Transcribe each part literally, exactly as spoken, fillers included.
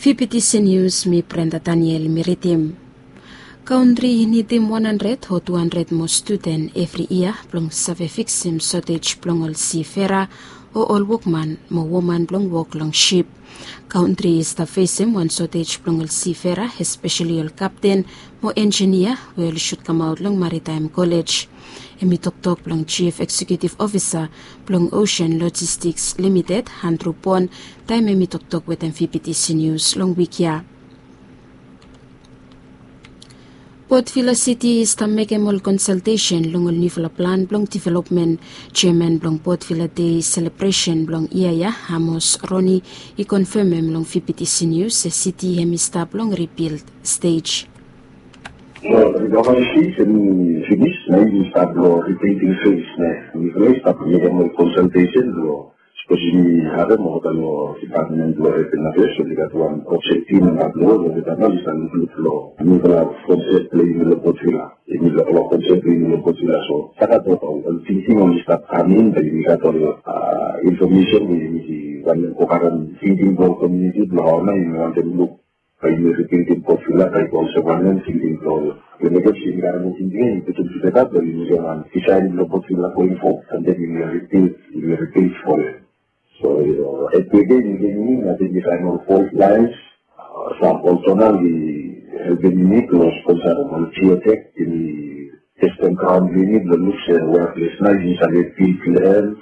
Fifty News, mi Brenda Daniel mi ridim. Kantri i nidim wan handred o tu handred moa studen evri yia blong save fiksim sotej blong ol sifera o ol wokman mo woman blong wok long sip. Kantri i stap fesem wan sotej blong ol sifera, espeseli ol kapten mo enjinia we oli sut kamaot long Maritaem Kolej. Hem i toktok blong Jif Eksekutif Ofisa blong Osen Lojistiks Limited, Andru Bon, taem hem i toktok wetem Fifty News long wik ya. Potvila Siti i stap mekem ol konsaltesen long ol niufala plan blong developmen. Jeaman blong Potvila Dei selebresen blong yia ya, Amos Roni, i konfemem long Fifty News se siti hem i stap long ribild stej. So recovery stage hem i finis, na yumi stap long rebuilding phase, ne. Mifala i stap mekem ol konsaltesen blong, sapos yumi harem olgeta long dipatmen blong Urban Affairs, oli gat wan objektif namba tu, olgeta nao i stap inklud long nufala konsep blong yumi long Potvila. Yumi long, long konsep blong yumi long Potvila, so stap gat ol, ol tingting oli stap kam in, bae yumi gat ol, a, infomesen we yumi wantem go karem tingting blong komuniti blong hao nao yumi wantem luk bae yumi ribildim Potvila, bae i go olsem wanem, tingting blong yumi, mekem se yumi karem ol tingting ya, yumi putum tugeta blong yumi mekem wan disaen blong Potvila going forward, and then yumi ribild, yumi ribild from there. So, yu no, hetwok ya yumi givim, ating yumi saen ol fault lines, a, sam ol tonal i helpem yumi blong sponsa ol geotech, yumi testem graon blong yumi blong luk se we ples nao yumi save bil blong hem.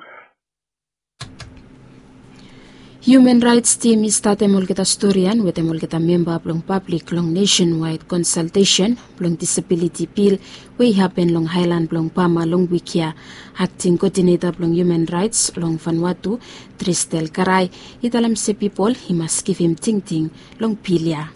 Hiuman Raets Tim i statem olgeta storian wetem olgeta memba blong pablik long nesenwaed konsaltesen blong disabiliti bil we i hapen long aelan blong Pama long wik ya. Akting koodineta blong Hiuman Raets long Vanuatu, Tristel Karai, i talem se pipol i mas givim tingting long bil ya.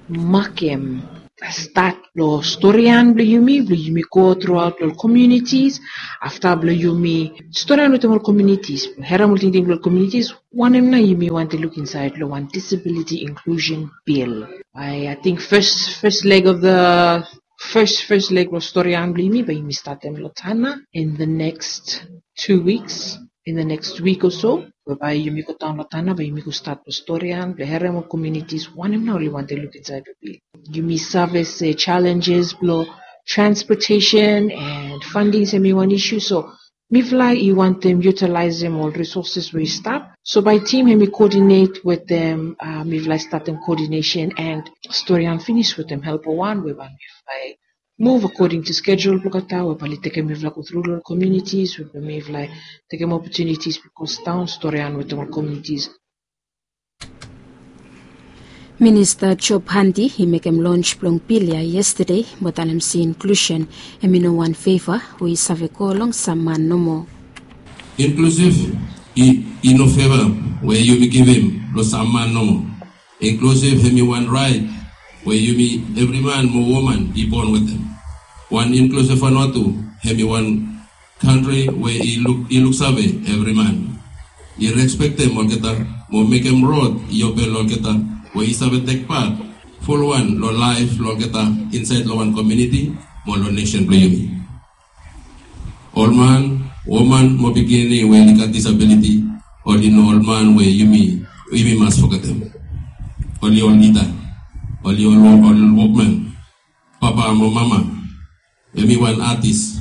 Makem stat blong storian blong yumi, blong yumi go truaot long komunitis, afta blong yumi storian wetem ol komunitis, blong harem ol tingting blong ol komunitis, wanem nao yumi wantem luk insaed long wan disabiliti inklusen bil. Bae, ating fes, fes leg of the, fes, fes leg blong storian blong yumi, bae yumi statem long Tanna in the next two weeks. In the next week or so, we bae yumi go daon long Tanna, bae yumi go stat blong storian, blong harem ol komunitis wanem nao oli wantem luk insaed long bil. Yumi save se challenges blong transportation and funding hemi wan isu, so mifala i wantem yutilaesem ol resources we i stap. So bae tim hemi koodinet wetem, a, mifala i statem koodinesen and storian finis wetem helpa wan we bae mifala i muv akoding tu skedul blong olgeta we bae oli tekem mifala go tru long ol komunitis, we bae mifala tekem opotunitis blong go daon storian wetem ol komunitis. Minista Job Handi i mekem lons blong bil ya yestade, mo talem se inklusen hemi no wan feva we i save go long sam man nomo. Inklusiv i, i no feva we yumi givim long sam man nomo. Inklusiv hemi wan raet we yumi evri man mo woman i bon wetem. Wan inklusiv Vanuatu hemi wan kantri we i luk, i luksave evri man. I respektem olgeta mo mekem rod i open long olgeta we i save tek pat fulwan long laef blong olgeta insaed long wan komuniti mo long nesen blong yumi. Ol man, woman mo pikinini we oli gat disabiliti, oli no ol man we yumi, yumi mas fogetem. Oli ol lida, oli ol, ol wokman, papa mo mama, hemi wan atis,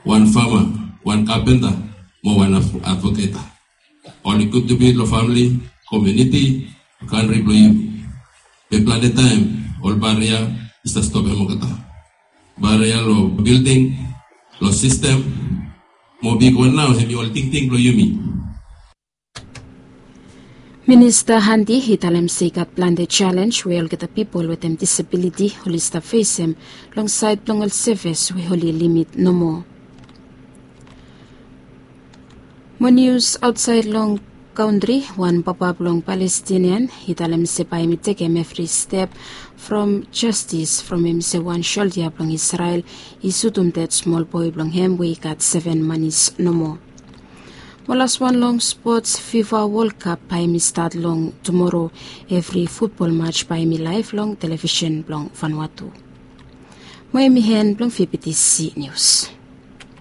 wan fama, wan kapenta mo wan adv-, advoketa. Oli gud tu bi long famili, komuniti, kantri blong yumi. Be plante taem ol baria i stap stopem olgeta. Baria long bilding, long sistem, mo bigwan nao hemi ol tingting blong yumi. Minista Handi i talem se i gat plante jalenj we olgeta pipol wetem disabiliti oli stap fesem long saed blong ol sevis we oli limit nomo. Mo nius aotsaed long kantri, wan papa blong Palestinian i talem se bae hemi tekem evri step from jastis from hemi se wan soldia blong Isrel i sutum ded smol boe blong hem we i gat seven manis nomo. Mo laswan long spots, FIFA World Cup bae hemi stat long tumoro. Evri futbol maj bae hemi laev long televisen blong Vanuatu. Mo hemi en blong Fifty News.